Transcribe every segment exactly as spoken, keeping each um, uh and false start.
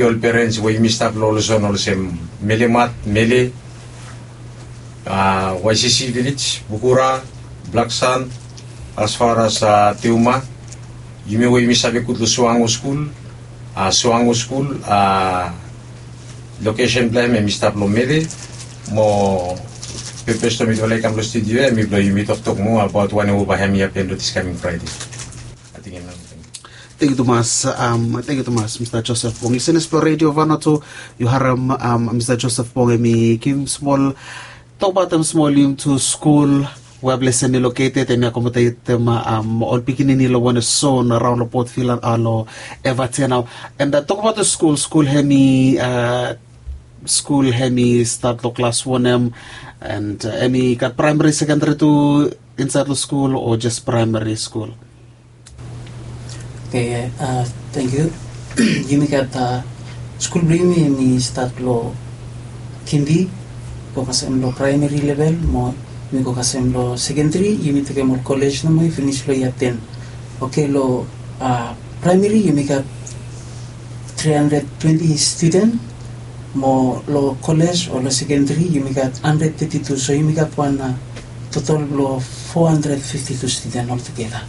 Ol perens we yumi stap long ol zon olsem Melemat, Mele, a, Waisisi Vilej, Bukura, Blaksan, as far as, a, Teuma. Yumi we yumi save gud long Suango skul, a, Suango skul, a, lokesen blong hem hemi stap long Mele. Mo pepes long mitufala i kam long studio ya hemi blong yumi toktok moa abaot wanem we bae hemi hapen long this coming Friday. Ating hemia. Tangkiu tumas, am, tangkiu tumas, Mista Joseph Bong. Liseners blong Radio Vanuatu, yu harem, am, Mista Joseph Bong hemi givim smol, tokbaot hem smol, yumi tu skul we ples hemi located, hemi akomodetem, am, ol pikinini long wanem zon araon long Port Vila, a, long Evatea nao. And, a, tokbaot skul, skul hemi, a, skul hemi stat long klas wanem, and, a, hemi gat praemari, sekendari tu insaed long skul, o jes praemari skul? Oke, a, tangkiu. Yumi gat, a, skul blong yumi hemi stat long kindi, go kasem long praemari level, mo yumi go kasem long sekendari, yumi tekem ol kolej nomo i finis long yia ten. Oke, long, a, praemari yumi gat tri handred twenti studen, mo long kolej o long sekendari yumi gat handred teti tu, so yumi gat wan, a, totol blong fo handred fifti tu studen oltugeta.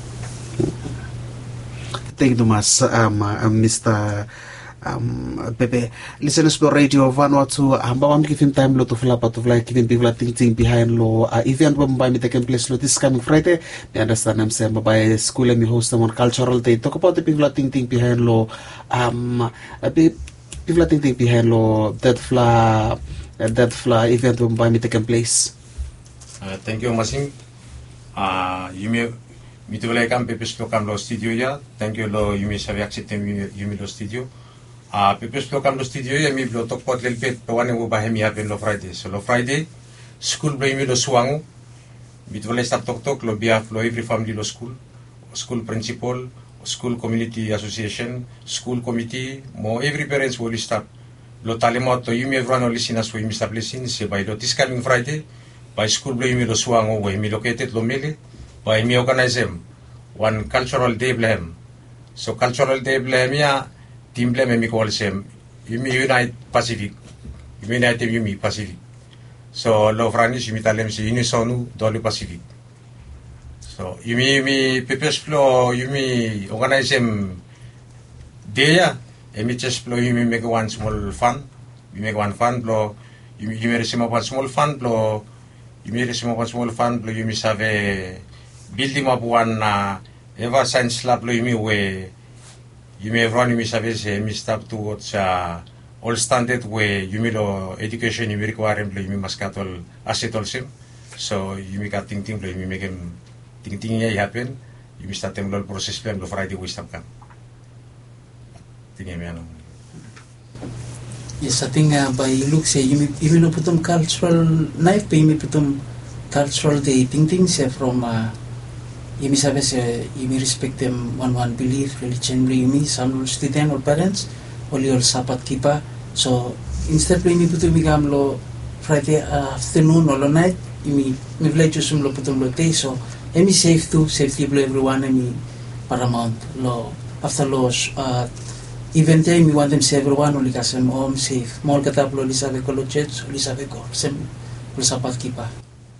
Tangkiu tumas, am, am, Mista, am, Pepe. Liseners blong Radio Vanuatu, am, bambae mi givim taem long tufala bae tufala givim bigfala tingting bihaen long, a, iven we bambae hemi tekem ples long this coming Fraede. Mi andastanem se bambae skul hemi hostem wan cultural day. Tokbaot bigfala tingting bihaen long, am, a, bi- bigfala tingting bihaen long detfala, detfala iven we bambae hemi tekem ples. A, tangkiu Masing. A, yumi, mitufala i kam, pepes blong kam long studio ya. Tangkiu long yumi save akseptem yumi, yumi long studio. A, pepes blong kam long studio ya hemi blong tokbaot lelebet wanem we bae hemi hapen long Fraede. So long Fraede, skul blong yumi long Suango, mitufala i stap toktok long behalf blong evri famili long skul, skul prinsipol, skul komuniti asosiesen, skul komiti, mo evri perens we oli stap, blong talemaot long yumi evriwan ol lisenas we yumi stap lisin se bae long this coming Fraede, bae skul blong yumi long Suango we hemi located long Mele, bae hemi oganaesem wan cultural day blong hem. So cultural day blong hem ya, tim blong hem hemi go olsem, yumi unite Pacific. Yumi unitem yumi Pacific. So long Franis yumi talem se unissons-nous dans le Pacifique. So yumi, yumi pepes blong yumi oganaesem dei ya, hemi jes blong yumi mekem wan smol fan. Yumi mekem wan fan blong yumi, yumi resemap wan smol fan blong, yumi resemap wan smol fan blong yumi save bildimap wan, a, eva saen slap blong yumi we yumi evriwan yumi save se hemi stap towards, a, ol standad we yumi long edukesen yumi rikwaerem blong yumi mas gat ol aset olsem. So yumi gat tingting blong yumi mekem tingting ya i hapen. Yumi statem long ol proses blong hem long Fraede we i stap kam. Tingting ya nao. Yes, ating, a, bae yu luk se yumi, yumi no putum cultural night, be yumi putum cultural day tingting se from, a, yumi save se yumi respektem wanwan bilif, relijen blong yumi, sam long ol studen, ol perens, oli ol Sabat kipa. So insted blong yumi putum i kam long Fraede aftanun o long naet, yumi, mifala i jusum long putum long dei, so hemi sef tu, sefti blong evriwan hemi paramaont. Long afta long, a, iven ya yumi wantem se evriwan oli kasem hom sef, mo olgeta blong oli save go long jos oli save go olsem blong Sabat kipa.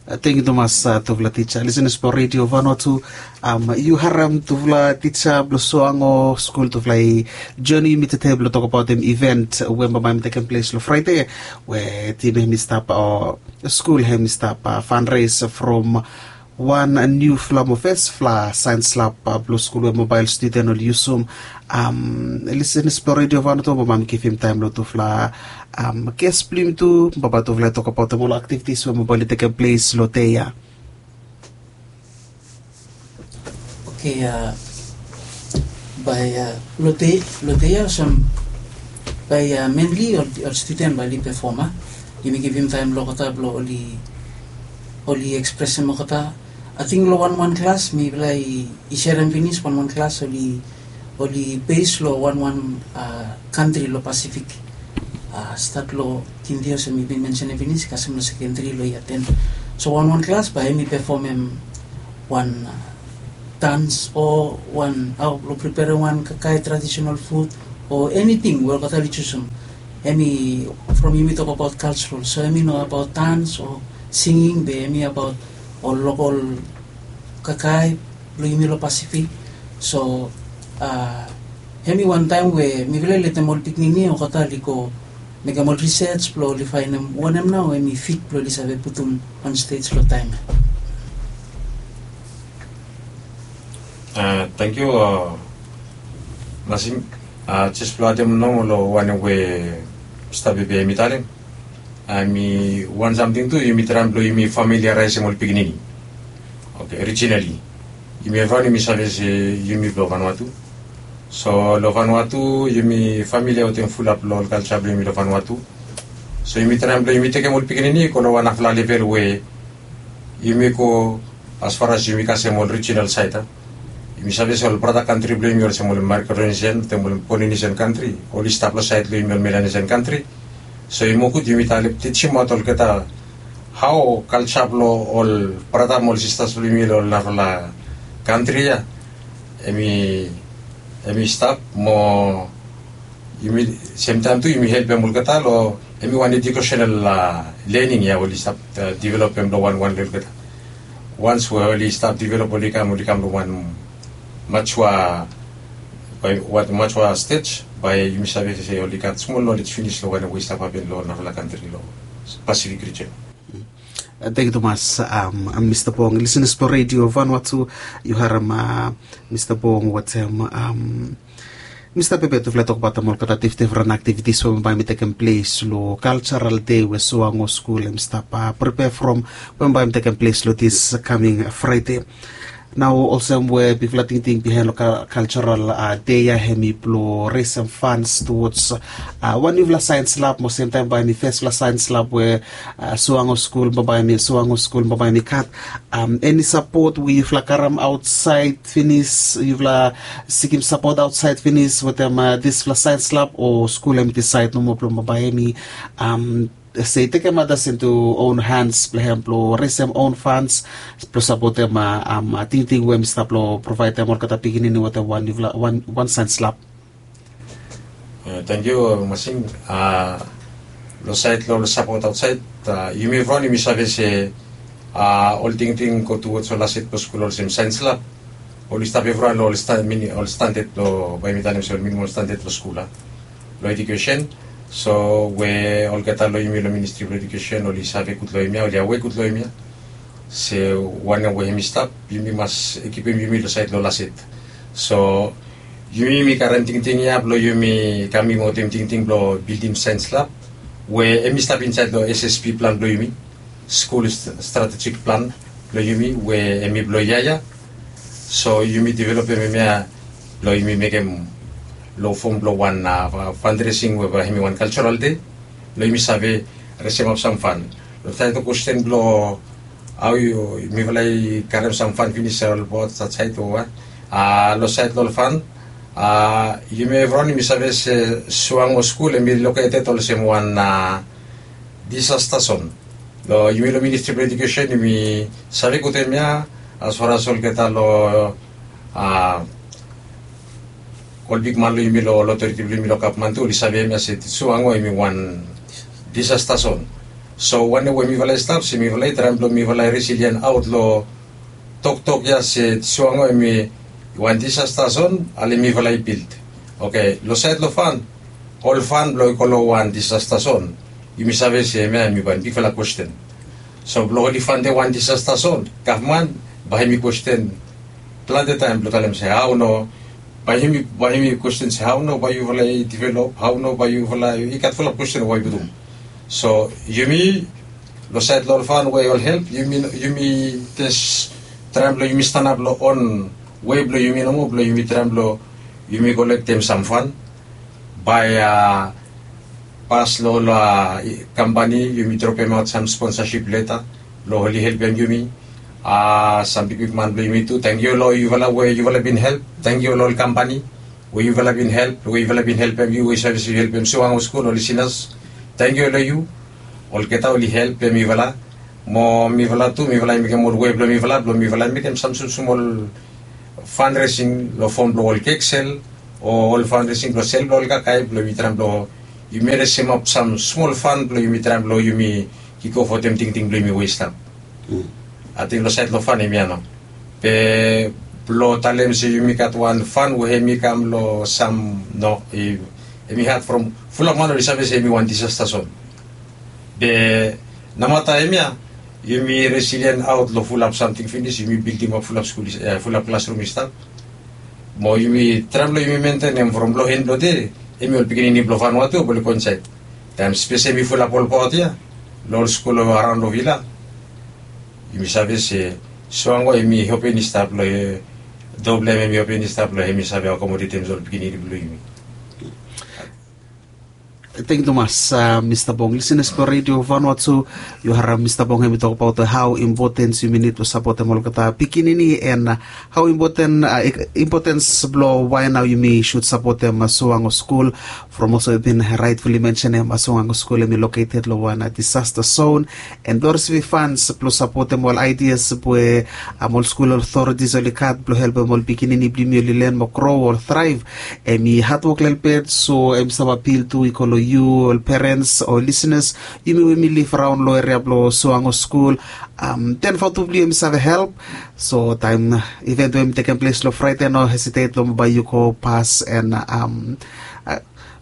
A, tangkiu tumas, a, tufala tija. Lisenas blong Radio Vanuatu, am, yu harem tufala tija blong Suango skul, tufala i joni yumi tede blong tokbaotem iven we bambae hemi tekem ples long Fraede, we tim hemi stap, o skul hemi stap, a, fundraise from wan niufala mo fesfala saen slap, a, blong skul we mobael studen oli yusum. Am, lisenas blong Radio Vanuatu, bambae mi givim taem long tufala, am, ges blong yumi tu, bambae tufala i tokbaotem ol aktivitis we bambae oli tekem ples long dei ya. Oke, a, bae, a, long dei, long dei ya olsem bae, a, mainly ol, ol studen bae oli pefom, a. Yumi givim taem long olgeta blong oli, oli ekspresem olgeta. Ating long wanwan klas mifala i, i serem finis, wanwan klas oli, oli bes long wanwan, a, kantri long Pasifik. A, stat long kindi olsem mi bin mensenem finis, kasem long sekendari long yia ten. So wanwan klas bae hemi pefomem wan, a, dans o wan, hao blong preperem wan kakae traditional fud o eniting we olgeta oli jusum. Em i from yumi tok abaot kalsarol, so em i no abaot dans o singing be em i abaot ol lokol kakae blong yumi long Pasifik. So a em i wantaem we mifala i letem ol pikinini olgeta oli go mekem ol risej blong oli faenem wanem nao em i fit blong oli save putum on stej long taem ya. Tangkiu. Masing, jes blong adem nomo long wanem we Mista Pepe em i talem. Em i wan samting tu yumi traem blong yumi familiaraesem ol pikinini. Oke, orijinali yumi evriwan yumi save se yumi blong Vanuatu. So long Vanuatu yumi familia wetem fulap long ol kalja blong yumi long Vanuatu. So yumi traem blong yumi tekem ol pikinini i go long wan nafala level we yumi go as far as yumi kasem ol rijinal saed a. Yumi save se ol brata kantri blong yumi olsem ol Micronesian wetem ol Polynesian kantri oli stap long saed blong yumi ol Melanesian kantri. So i moa gud yumi talem tijim aot olgeta hao kalja blong ol brata mo ol sistas blong yumi long ol nafala kantri ya. Em i em i stap mo yumi semtaem tu yumi helpem olgeta long em i wan ejukesenal lening ya oli stap developem long wanwan long olgeta. Wans we oli stap develop oli kam oli kam long wan majua bai wan majua stej bai yumi save se oli gat smol nolej finis long wanem we i stap hapen long nafala kantri long Pasifik rijen. Tangkiu tumas. Mista Bong, lisenas blong redio Vanuatu, yu harem Mista Bong wetem Mista Pepe tufala i tokbaot olgeta difdifren aktivitis we bambae mi tekem ples long kaljaral dei we Suango skul em i stap pripea from we bambae mi tekem ples long dis kaming Fraede. Nao olsem we bigfala tingting bihaen long kaljaral dei ya hem i blong resem fans tuwods wan niufala saens lab mo semtaem bae hem i fesfala saens lab we Suango skul bambae hem i Suango skul bambae hem i gat. Eni sapot we yufala karem aotsaed finis, yufala sikim sapot aotsaed finis wetem disfala saens lab o skul hem i disaed nomo blong bambae hem i se i tekem matas intu own hands blong hem blong resem own fans blong sapotem tingting we hem i stap long provaedem olgeta pikinini wetem wan saens lab. Tangkiu masing. Long saed long ol sapot aotsaed yumi evriwan yumi save se ol tingting go tuwods ol aset blong skul olsem saens lab oli stap evriwan long ol standad blong bae mi talem se ol minimam standad blong skul a long edukesen. So we olgeta long yumi long ministri blong edukesen oli save gud long hemia oli awe gud long hemia se wanem we hem i stap yumi mas kipim yumi long saed long laset. So yumi yumi karem tingting ya blong yumi kamim wetem tingting blong bildim saens lab we hem i stap insaed long ssp plan blong yumi, skul stratejik plan blong yumi we hem i blong yia ya. So yumi developem hemia blong yumi mekem long fom blong wan fandresing we bae hem i wan kaljaral dei blong yumi save resemap sam fan. Long saed long kwesten blong hao mifala i karem sam fan finis ol bot saed o wa long saed long ol fan yumi evriwan yumi save se Suango skul hem i loketed olsem wan disasta zon. Long yumi long ministri blong edukesen yumi save gud hemia as far as olgeta long ol bigman long yumi long otoriti blong yumi long gavman tu oli save hemia se Suango hem i wan disasta zon. So wanem we mifala i stap se mifala i traem blong mifala i resilien aot long toktok ya se Suango hem i wan disasta zon ale mifala i bild. Oke, long saed long fan ol fan blong i go long wan disasta zon yumi save se hemia hem i wan bigfala kwesten. So blong oli fandem wan disasta zon gavman bae hem i kwesten plante taem blong talem se hao nao bae hem i kwesten se hao nao bae yufala i develop hao nao bae yufala i gat fulap kwesten we bae i putum. So yumi long saed long ol fan we ol help yumi jes traem blong yumi stanap long on wei blong yumi nomo blong yumi traem blong yumi kolektem sam fan bae a pas long ol kampani yumi dropemaot sam sponsasip leta blong oli helpem yumi. Sam bigbigman blong yumi tu tangkiu long yufala we yufala bin help. Tangkiu long ol kampani we yufala bin help we yufala bin helpem yu we yu save se yu helpem Suango skul ol lisinas. Tangkiu long yu. Olgeta oli helpem mifala mo mifala tu mifala i mekem ol wei blong mifala blong mifala i mekem sam smosmol fanresing long fom blong ol kek sel o ol fanresing blong sel blong ol kakae blong yumi traem blong yumi resemap sam smol fan blong yumi traem blong yumi kikof wetem tingting blong yumi we i stap. Ating long saed long fan hemia nao. Be blong talem se yumi gat wan fan we hem i kam long sam no, hem i hat from fulap man oli save se hem i wan disasta zon. Be namata hemia yumi resilien aot long fulap samting finis, yumi bildimap fulap skul, fulap klasrum i stap. Mo yumi traem blong yumi mentenem from long en blong de, hem i ol pikinini blong Vanuatu blong oli go insaed. Taem spes hem i fulap ol paot ya long ol skul araon long vila, yumi save se suango hem i hopen i stap long, do blong hem hem i hopen i stap long hem i save akomodetem ol pikinini blong yumi. Tangkiu tumas, Mista Bong. Lisenas blong Redio Vanuatu, yu harem Mista Bong hem i tokbaot hao impotens yumi nid blong sapotem olgeta pikinini, and hao impotens blong wae nao yumi sud sapotem Suango skul. From olsem yu bin raetfuli mensenem, Suango skul hem i loketed long wan disasta zon, and blong risivim fans blong sapotem ol aidias we ol skul otoritis oli gat blong helpem ol pikinini blong yumi oli len mo gro o traev, hem i hadwok lelebet. So hem i stap apil tu i go long yu ol perens o lisenas, yumi we yumi liv raon long eria blong Suango skul, ten vatu blong yu hem i save help. So taem iven we hem i tekem ples long Fraede, no hesitet blong bae yu go pas and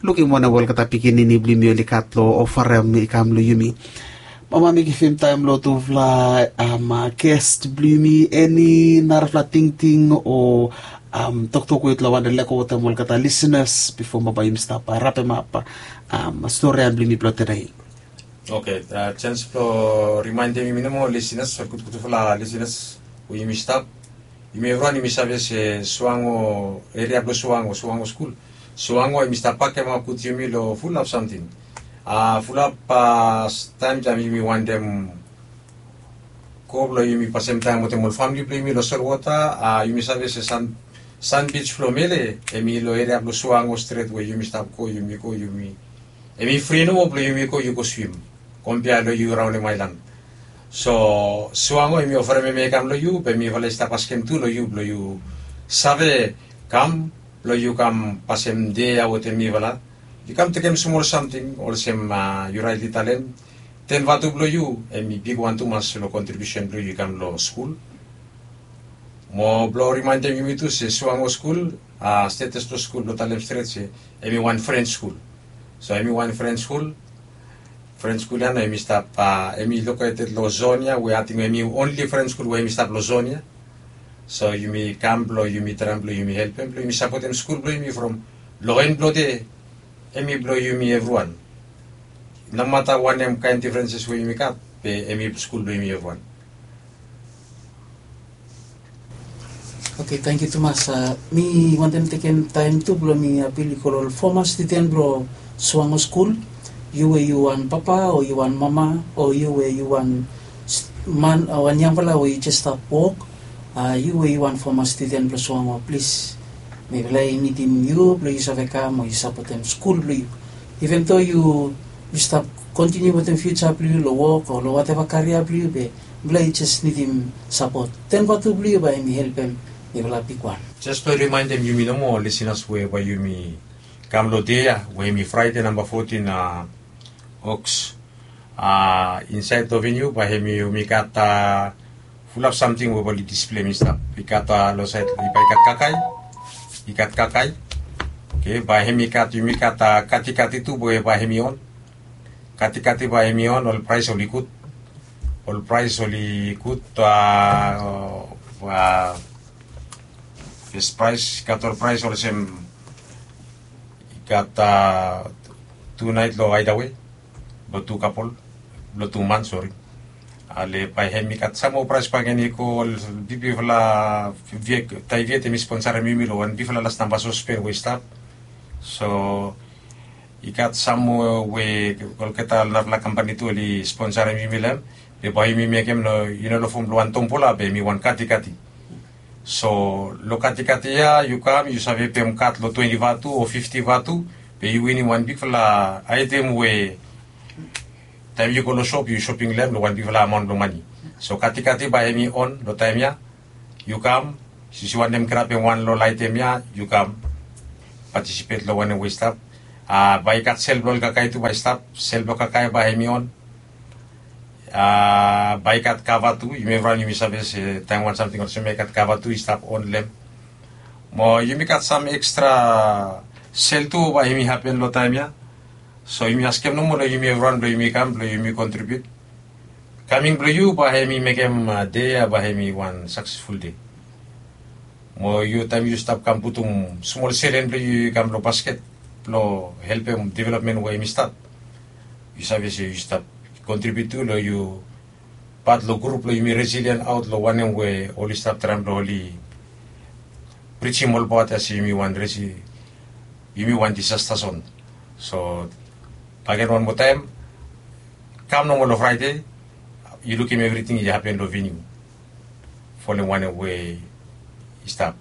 lukim wanem olgeta pikinini blong yumi oli gat long ofarem i kam long yumi. Mama, mi givim taem long tufala ges blong yumi, eni narafala tingting o toktok we yutala wantem lego wetem olgeta lisenas bifo bae yumi stap rapemap stori ya blong yumi blong tede? Oke, jens blong rimaendem yumi nomo lisenas, ol gudgudfala lisenas we yumi stap. Yumi evriwan yumi save se Suango, eria blong Suango, Suango skul, Suango hem i stap bakemaot yumi long fulap samting. Fulap taem taem yumi wantem go blong yumi pasem taem wetem ol famle blong yumi long solwota, yumi save se San, San Beach blong Mele hem i long eria blong Suango stret we yumi stap go, yumi go, yumi, hem i fri nomo blong yumi go, yu go swim, kompea long yu raonem aelan. So Suango hem i oferem hemia i kam long yu, be mifala i stap askem tu long yu blong yu save kam blong yu kam pasem dei ya wetem mifala. Yu kam tekem smol samting olsem yu raetli talem, ten vatu blong yu hem i bigwan tumas long kontribiusen blong yu i kam long skul. Mo blong rimaendem yumi tu se Suango skul, stetes blong skul blong talem stret se hem i wan fren skul. So hem i wan fren skul. Fren skul ya nao hem i stap, hem i loketed long zon ya we ating hem i onli fren skul we hem i stap long zon ya. So yumi kam blong yumi traem blong yumi helpem blong yumi sapotem skul blong yumi from long en blong de, hem i blong yumi evriwan. Nomata wanem kaen difrenses we yumi gat, be hem i skul blong yumi evriwan. Oke, tangkiu tumas. Mi wantem tekem taem tu blong mi apil i go long ol foma studen blong Suango skul. Yu we yu wan papa o yu wan mama o yu we yu wan man, wan yangfala we yu jes stap wok, yu we yu wan foma studen blong Suango, plis, mifala i nidim yu blong yu save kam o yu sapotem skul blong yu. Iven do yu stap kontiniu wetem fiuja blong yu long wok o long wateva karia blong yu, be mifala i jes nidim sapot. Ten vatu blong yu bae hem i helpem mifala bigwan. Jes blong rimaendem yumi nomo ol lisenas we bae yumi kam long dei ya we hem i Fraede namba fotin Oks, insaed long veniu bae hem i, yumi gat fulap samting we bae oli displeim i stap. I gat long saed, bae i gat kakae, i gat kakae. Oke, bae hem i gat, yumi gat katikati tu we bae hem i on. Katikati bae hem i on, ol praes oli gud. Ol praes oli gud. Fes praes, i gat ol praes olsem, i gat tu naet long Hideaway blong tu kapol, blong tu man, sori. Ale bae hem i gat sam moa praes bakegen i go, ol bibifala, Taiviet hem i sponsarem yumi long wan bigfala las namba sospen we i stap. So i gat sam moa we olgeta narafala kampani tu oli sponsarem yumi long hem. Be bae yumi mekem, no, i no long fom blong wan tombola, be hem i wan katikati. So long katikati ya yu kam, yu save pem kad long twenti vatu o fifti vatu, be yu winim wan bigfala aetem we taem yu go long sop yu soping long hem long wan bigfala amaon blong mane. So katikati bae hem i on long taem ya. Yu kam, since yu wantem grabem wan long ol aetem ya, yu kam. Patisipet long wanem we i stap. A bae i gat sel blong ol kakae tu bae i stap, sel blong kakae bae hem i on. A bae i gat kava tu, yumi evriwan yumi save se taem wan samting olsem ya i gat kava tu i stap on long hem. Mo yumi gat sam ekstra sel tu bae hem i hapen long taem ya. So yumi askem nomo long yumi evriwan blong yumi kam blong yumi kontribiut. Kaming blong yu bae hem i mekem dei ya bae hem i wan saksesful dei. Mo yu taem yu stap kam putum smol selen blong yu i kam long basket blong helpem developmen we hem i stap, yu save se yu stap kontribiut tu long yu pat long grup blong yumi resilian aot long wanem we oli stap traem blong oli prijim olbaot ya se yumi wan resi yumi wan disasta zon. So bagen wan moa taem, kam nomo long fraede, yu lukim evriting i hapen long viniu folem wanem we i stap.